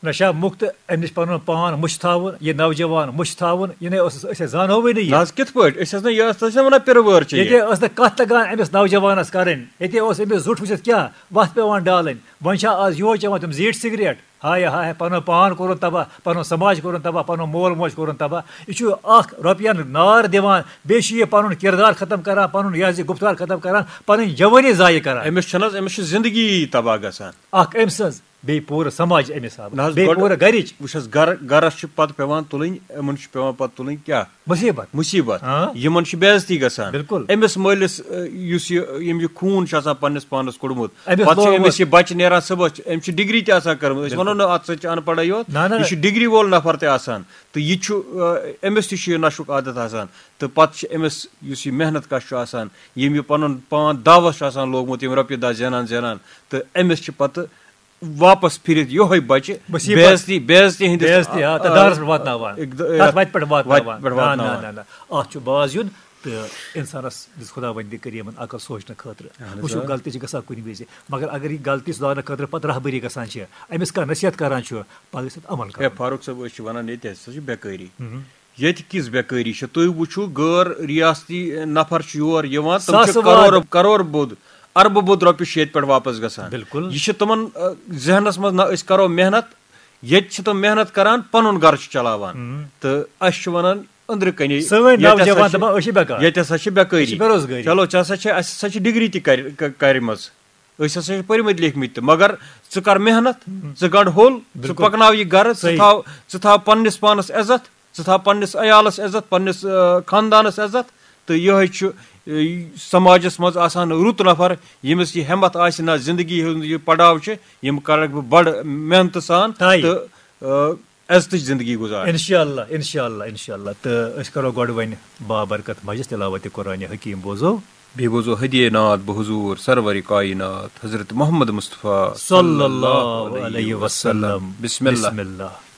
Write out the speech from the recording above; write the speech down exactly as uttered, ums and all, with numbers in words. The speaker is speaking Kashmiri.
نشہ مُکت، أمِس پنُن پان مٔشتھاوُن، یہِ نوجوان مٔشتھاوُن، یہِ نے اوسُس أسۍ زانہوٕے نہٕ یہِ۔ نہ حظ، کِتھ پٲٹھۍ؟ أسۍ حظ نہ، یہِ ٲس نہ وَنان پِرٕ وٲر چھِ یہِ۔ ییٚتہِ ٲس نہٕ کتھ تگان أمِس نوجوانس کرٕنۍ، ییٚتہِ اوس أمِس زُٹھ وٕچھِتھ کیٛاہ وتھ پٮ۪وان ڈالٕنۍ۔ وۄنۍ چھا آز یِہوے چٮ۪وان تِم زیٖٹھۍ سگریٹ؟ ہاے ہاے، پنُن پان کوٚرُن تباہ، پنُن سماج کوٚرُن تباہ، پنُن مول موج کوٚرُن تباہ۔ یہِ چھُ اکھ رۄپین نار دِوان، بیٚیہِ چھُ یہِ پنُن کردار ختم کران، پنُن یہِ حظ یہِ گُفتار ختم کران، پنٕنۍ جوٲنی ضایع کران۔ أمِس چھنہٕ حظ، أمِس چھِ زندگی تباہ گژھان۔ اکھ أمۍ سٕنٛز، بیٚیہِ پوٗرٕ سماج أمِس حوالہٕ، نہ حظ، بیٚیہِ گۄڈٕ پوٗرٕ گرِچ وٕچھ حظ، گرٕ گرس چھِ پتہٕ پٮ۪وان تُلٕنۍ، یِمن چھِ پٮ۪وان پتہٕ تُلٕنۍ کیٛاہ؟ مُصیٖبت۔ مُصیٖبت۔ ہاں۔ یِمن چھِ بے عزتی گژھان۔ بِلکُل۔ أمِس مٲلِس، اَ، یُس یہِ، یِم یہِ خوٗن چھُ آسان پننِس پانس کوٚڑمُت، أمِس پتہٕ چھِ لوگمُت۔ أمِس یہِ بچہِ نیران صُبحس، أمِس چھِ ڈگری تہِ آسان کٔرمٕژ۔ أسۍ ونو نہٕ اتھ سۭتۍ چھِ ان پڑھے یوت، نہ، نہ، نہ۔ یہِ چھُ ڈگری وول نفر تہِ آسان، تہٕ یہِ چھُ، اَ، أمِس تہِ چھُ یہِ نشُک عادت آسان، تہٕ پتہٕ چھِ أمِس یُس یہِ محنت کش چھُ آسان، یِم یہِ پنُن پان دعوس چھُ آسان لوگمُت، یِم رۄپیہِ دہ زینان زینان، تہٕ أمِس چھِ پتہٕ واپس پھِرِتھ یِہوٚے بچہِ مُصیبت۔ بے عزتی، بے عزتی ہِنٛدِس، بے عزتی، آ، تہٕ آ، دارس پٮ۪ٹھ واتناوان۔ اقد-، تَتھ وَتہِ پٮ۪ٹھ واتناوان۔ وَتہِ پٮ۪ٹھ نہ، نہ، واتناوان۔ نہ، نہ۔ اَتھ چھُ باز یُن تہٕ اِنسانَس دِژ خۄداوندِ کٔریٖمَن عقل سونٛچنہٕ خٲطرٕ۔ اَہَن حظ، وٕچھِو، آ۔ غلطی چھِ گژھان کُنہِ وِزِ، مگر اگر یہِ غلطی سُدھارنہٕ خٲطرٕ پَتہٕ رہبٔری گژھان چھِ، أمِس کانٛہہ نصیحت کران چھُ، پَتہٕ گژھِ اَتھ عمل ہے کرُن۔ فاروق صٲب، أسۍ چھِ وَنان ییٚتہِ ہسا چھِ بے کٲری۔ ییٚتہِ کِژھ بے کٲری چھِ؟ تُہۍ وٕچھِو، غٲر ریاستی نفر چھِ یور یِوان، تِم چھِ ساسہٕ کرور، واد۔ کرور بود، اربہٕ بود رۄپیہِ چھِ ییٚتہِ پٮ۪ٹھ واپس گژھان۔ بِلکُل۔ یہِ چھِ تِمن، آ، ذہنس منٛز، نہ أسۍ کرو محنت، ییٚتہِ چھِ تِم محنت کران، پنُن گرٕ چھِ چلاوان۔ تہٕ اَسہِ چھِ وَنان أنٛدرٕ کَنے، سٲنۍ ییٚتہِ ہسا نوجوان چھِ، دَپان، أسۍ چھِ بیکار۔ ییٚتہِ ہسا چھِ بے کٲری۔ أسۍ چھِ بے روزگٲری۔ چلو، ژےٚ ہسا چھِ، اَسہِ ہسا چھِ ڈگری تہِ کر-، ک-، کَرِمَژ۔ أسۍ ہسا چھِ پٔرمٕتۍ لیکھمٕتۍ تہِ، مگر ژٕ کر محنت، ژٕ گنٛڈ ہوٚل، ژٕ بِلکُل۔ پکناو یہِ گرٕ، ژٕ صحیح۔ تھاو، ژٕ تھاو پننِس پانس عزت، ژٕ تھاو پننِس عیالس عزت، پننِس، آ، خاندانس عزت۔ تہٕ یِہوٚے چھُ، آ، سماجس منٛز آسان رُت نفر، ییٚمِس یہِ ہٮ۪متھ آسہِ نہ زندگی ہُنٛد یہِ پڑاو چھُ، یِم کرکھ بہٕ بڑٕ محنتہٕ سان طے۔ تہٕ، آ، عزتٕچ زندگی گُزارٕنۍ۔ انشاءاللہ، انشاءاللہ، انشاءاللہ۔ تہٕ أسۍ کرو گۄڈٕ وۄنۍ بابرکت مجلس تلاوت قرآن حکیم بوزو۔ بیٚیہِ بوزو ہدیہ نعت بہٕ حضور سرور کائنات حضرت محمد مصطفیٰ صلی اللہ علیہ وسلم۔ بسم اللہ۔ بسم اللہ۔